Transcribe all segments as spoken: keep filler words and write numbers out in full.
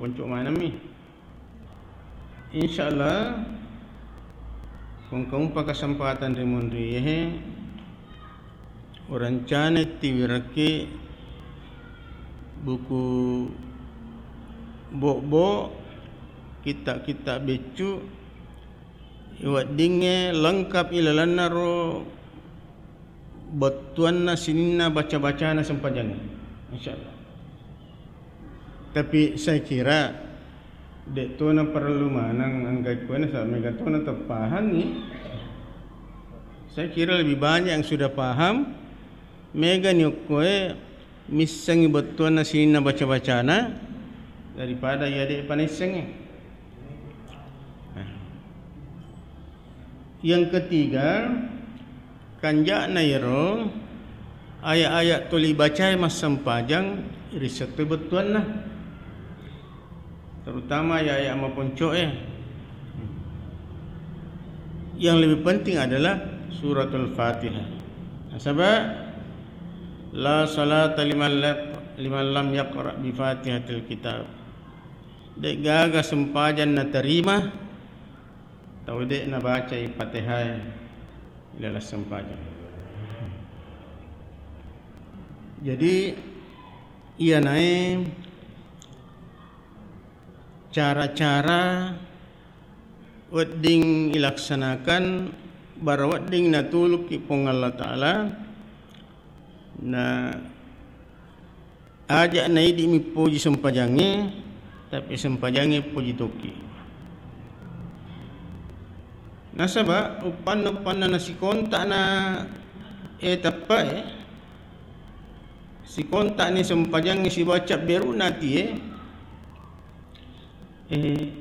Ponco maneng mi. Insyaallah, ko engka umpa kesempatan ri munri yehe, urencana tiwirekki buku bobbo, kitta-kitta beccu, weddingnge lengkap ilalenna ro bettuanna sininna baca-bacana sempajangnge, insyaallah. Tapi saya kira de' tona parellu maneng engka ikkoe, nasaba mega tona tepahangngi. Saya kira lebih banyak yang sudah paham, megani okkoe missengngi bettuanna sininna baca-bacana daripada iya de'pa naissengngi. Nah. Yang ketiga, kanja'na iyaro aya'-aya' tuli bacae massempajang, risseng toi bettuanna. Terutama aya'-aya' maponco'e. Yang lebih penting adalah Suratul Fatihah. Nasaba, "La salata liman la-, liman lam yaqra bi Fatihatil Kitab." De'gaga sempajang naterima tau de' nabacai Fatihae ilalang sempajang. Jadi, iyanae cara-cara wedding ilaksanakan bara wedding natulukki Puang Allah Ta'ala, na aja' naidi' mipoji sempajangnge, tapi sempajangnge poji tokki. Nasaba uppanna-uppanna nasikontakna, eh, tappae, sikonta'ni sempajangnge sibawa cabberu'na atie, eh,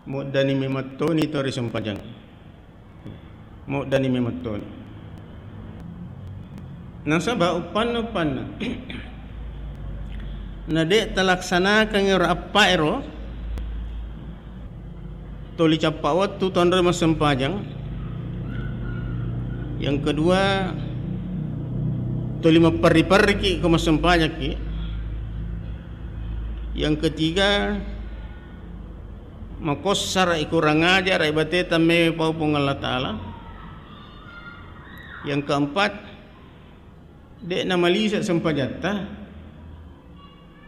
Muddani memettoni to ri sempajang. Muddani memettoni. Nasaba uppanna-uppanna. Na de' talaksanakan ero appa ero, toli cappa wettu tonro massempajang. Yang kedua, toli mapperri-perriki ko massempajakki. Yang ketiga, makossara, kurang ajar, bateta mewe pau Puang Allah Ta'ala. Yang keempat, de' namalise sempajatta.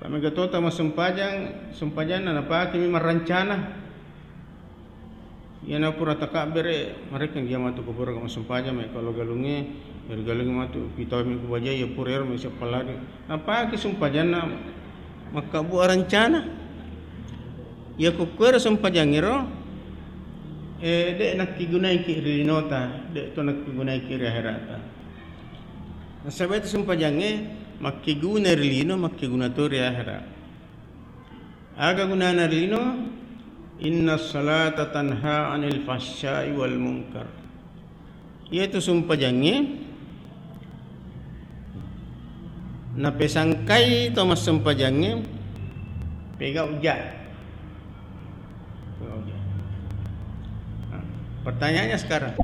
Pamega tota massempajang, sempajanna napake memang rancana. Iyana pura takabbere, marekkeng dia matu ko pura massempajang, mai kalo galungnge, ri galungnge matu, pitau mi ku bajai, iya pura ero mai siappallari. Napake sempajanna makkabbu rancana. Iya ko kuero sempajangngero, eh, de' nakkigunaiki ri linota, de' to nakkigunaiki ri aherata. Nasaba itu sempajangnge makkeguna ri lino, makkeguna to ri ahera. Aga gunana ri lino? Inna salata tanha anil fahsyai wal munkar. Iyatu sempajangnge napesangkai to massempajangnge pegau ja. Nah, pertanyaannya sekarang.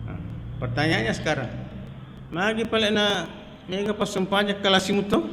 Nah, pertanyaannya sekarang. Magi pale na mega passempajang kalasi muto?